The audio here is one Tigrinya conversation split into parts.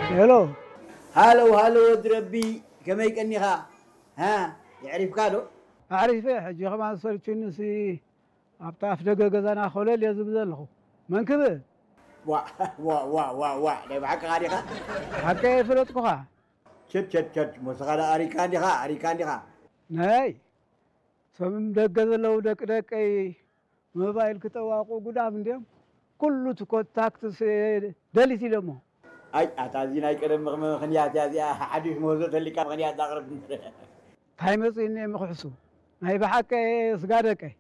ሄሎ። ሃሎ ሃሎ፣ ወዲ ረቢ፣ ከመይ ቀኒኻ? ሃ፣ የዕሪፍካ ዶ? ኣዕሪፈ። ሕጂ ከማን ሰልችኒ ሲ ኣብታ ኣፍ ደገ ገዛና ኮለል እየ ዝብል ዘለኹ። መን ክብል? ዋ ዋ ዋ ዋ ዋ፣ ናይ ብሓቅኻ ዲኻ? ሓቀይ ኣይፈለጥኩኻ። ቸድ ቸድ ቸድ፣ ሞስኻ ደኣ ኣሪካ እንዲኻ፣ ኣሪካ እንዲኻ። ናይ ሰምም ደገ ዘለዉ ደቂ ደቀይ ሞባይል ክጠዋቑ ጉዳም እንድዮም። ኩሉ እቲ ኮንታክትስ ደሊት ኢሎሞ። ኣይ ኣታ፣ እዚ ናይ ቀደም ምኽ- ምኽንያት እያ እዚኣ። ሓድሽ ምህዞ ተሊካ ምኽንያት ዛቕርብ። እንታይ መፂእኒ እየ ምኽሕሱ? ናይ ብሓቂ ስጋ ደቀይ።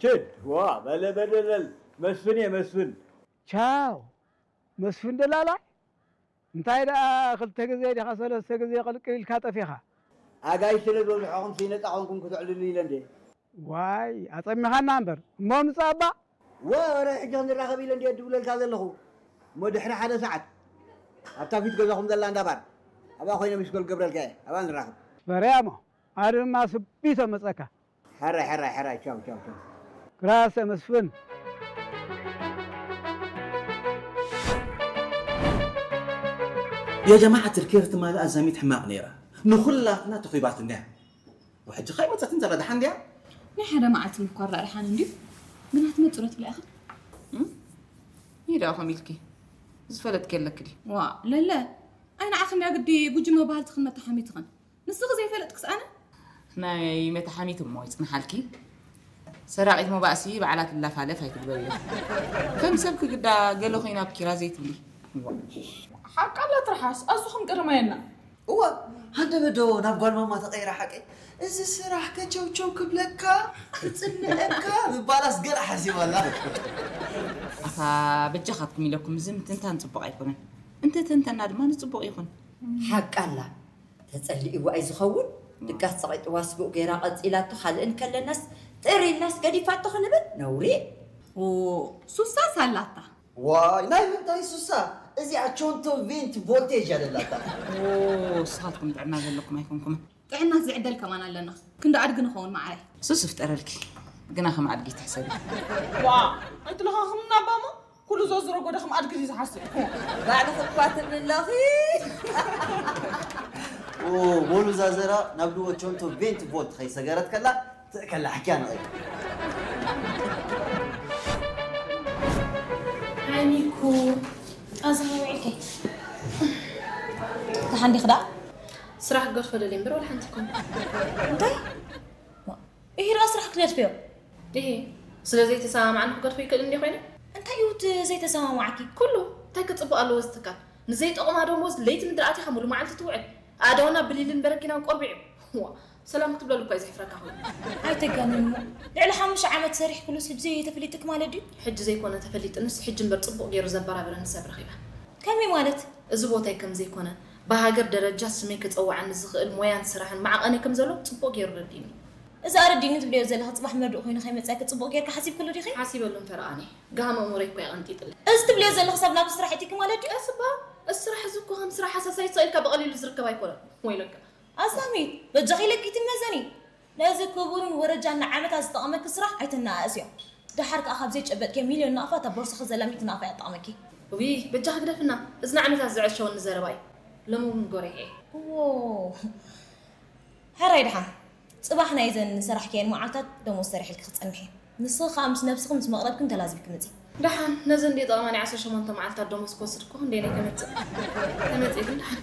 ችድ ዋ፣ በለ በለለል። መስፍን እየ መስፍን። ቻው መስፍን ደላላይ። እንታይ ደኣ ክልተ ግዜ ዲኻ ሰለስተ ግዜ ቅልቅል ኢልካ ጠፊኻ? ኣጋይሽ ስለ ዝበዝሖኹም ሲ ነጻ ኮንኩም ክተዕልሉ ኢለ እንዴ። ዋይ ኣጸሚኻና እምበር እሞ ምጻእ እባ። ወረ ሕጂ ክንራኸብ ኢለ እንዴ ድውለልካ ዘለኹ። እሞ ድሕሪ ሓደ ሰዓት ኣብታ ፊት ገዛኹም ዘላ እንዳ ባር ኣብኣ ኮይነ ሚስኮል ገብረልካ እየ። ኣብኣ ንራኸብ። በረያ እሞ ኣነ ድማ ስቢቶ መጸካ። ሕራይ ሕራይ ሕራይ ቻው ቻው ቻው። ግራሰ መስፍን። يا جماعة الكير تمال أزميت حماق نيرة نخلا أنا تخيبات النعم وحج خيمة تنزل هذا حنديا. ናይ ሓደ መዓልቲ ምኳር ዳኣ ደሓን እንድዩ። ግና ትመፅእ ዶ ትብላ ኢኻ? ይዳኹም ኢልኪ ዝፈለጥኪ ኣለኪ ድዩ? ዋ ለለ፣ ኣይ ንዓኺ እንድያ ግዲ ጉጅመ ባህልትኽን መተሓሚትኽን። ንስኺ ዘይፈለጥክስ ኣነ? ናይ መተሓሚት እሞ ይፅንሓልኪ። ሰራቒት መባእሲ ባዕላ ትላፋለፍ ኣይትግበርዮ። ከም ሰብ ክግዳ ገለ ኮይና ኣብ ኪራ ዘይትብሊ። ሓቃ ኣላ ትርሓስ ኣዝኹም ቅርመየና። እወ ሃንደበ ዶ ናብ ጓል ማማ ተቐይራ ሓቀይ እዚ ስራሕ ከቸውቸው ክብለካ ክጽንዐካ ምባላስ ገለ ሓሲባላ። ኣታ በጃኻትኩም ኢለኩም እዚ ምትንታን ፅቡቕ ኣይኮነን። እንተተንተና ድማ ንፅቡቕ ይኹን። ሓቃ ኣላ ተጸሊእዋ እዩ ዝኸውን ድቃስ ጸቒጥዋ ስቡእ ገይራ ቀጺላቶ ካልእን ከለናስ ጥር ኢልናስ ገዲፋቶ ክንብል ነውሪ። ሱሳስ ኣላታ። ዋይ ናይ ምንታይ ሱሳ እዚኣ ቾንቶ ቬንት ቮልቴጅ እያ ደላታ። ንስኻትኩም ጥዕና ዘለኩም ኣይኮንኩምን። ጥዕናስ ዝዕደል ከማን ኣለና። ክንዲ ኣድጊ ንኸውን መዓረይ። ሱስ ይፍጠረልኪ ግና ከም ኣድጊ ትሕሰቢ። ዋ ኣይትለኻኽምና ኣባሞ ኩሉ ዘዝረጎ ዶ ከም ኣድጊ ድዩ ዝሓስብ። ባዕልኺ እኳ ትብሊ ኣለኺ። በሉ ዛዘራ ናብ ድወ ቾንቶ ቬንት ቮልት ከይሰገረት ከላ ትእከላ ሕክያ ንቐይ። ዓይኒኩ ኣዛራዊዕከይ ተሓንዲኽ ደኣ ስራሕ ክገድፎ ደልየ እምበር ዋላ ሓንቲ ይኮነ። እንታይ? እሂ ደኣ ስራሕ ክትገድፍዮ? እሂ ስለ ዘይተሰማማዕና ክገድፎ ይክእል እንድየ ኮይነ። እንታይ እዩ እቲ ዘይተሰማማዕኪ? ኩሉ እንታይ ክፅቡቕ ኣለዎ እዚ ትካል? ንዘይጠቕማ ደሞዝ ለይቲ ምድሪ ኣቲኻ ሙሉ መዓልቲ ትውዕል። ኣእዳውና ብሊልን በረኪናን ቆርቢዑ። ዋ ሰላም ክትብለሉ እኳ እዩ ዘሕፍረካ ኮይኑ። ኣይተጋንኒ እሞ ልዕሊ ሓሙሽተ ዓመት ሰሪሕክሉስ ሕጂ ተፈሊጥክ ማለት ድዩ? ሕጂ ዘይኮነ ተፈሊጥንስ ሕጂ እምበር ፅቡቕ ገይሩ ዘበራብረኒ ሰብ ረኺበ። ከመይ ማለት? እዚ ቦታይ ከም ዘይኮነ ብሃገር ደረጃ ስመይ ከፀውዓኒ ዝኽእል ሞያን ስራሕን መዓቐኒ ከም ዘሎ ፅቡቕ ገይሩ ረዲእኒ እዩ። እዚ ኣረዲእኒ ትብልዮ ዘለኺ ፅባሕ መርድእ ኮይኑ ከይመፅኣኪ ፅቡቕ ጌርኪ ሓሲብክሉ ዲኺ? ሓሲበሉ እምፈረ ኣነ ጋህመ እሙረይ እኳ የቐንጢጥለይ። እዚ ትብልዮ ዘለኺ ሰብ ናብ ስራሕ ኣቲኪ ማለት ድዩ? እስ እባ እዚ ስራሕ እዚ እኮ ከም ስራሕ ሃሳስ ኣይትስቕ ኢልካ ብቐሊሉ ዝርከብ ኣይኮነን። ወይለካ። ኣዛሚት በጃኺ ኢለኪ ኣይትመዘኒ። ነዚ ክቡርን ወረጃን ንዓመታት ዝጠቐመኪ ስራሕ ኣይተነኣእስዮ። ደሓር ከኣ ካብ ዘይጨበጥክዮ ሚልዮን ናቕፋ እታ ቦርሳኺ ዘላ ሚእቲ ናቕፋ እያ ትጠቕመኪ። ውይ በጃኺ ግደፍና። እዚ ንዓመታት ዘዐሸወኒ ዘረባ እዩ። ሎሚ እውን ጎሪሐ እየ። ዎ ሕራይ ደሓን ፅባሕ ናይዘን ዝሰራሕክየን መዓልታት ደሞዝ ሰሪሐልኪ ክፀንሕ እየ። ንስኺ ከኣ ምስ ነብስኽን ምስ መቕረብክን ተላዚብኪ ምፂ። ደሓን ነዘን ድየ ጠቐማኒ ዓሰርተ ሸሞንተ መዓልታት ደሞዝ ክወስድ እኮ ክንደየናይ ተመፅእ ተመፅእ ግን ደሓን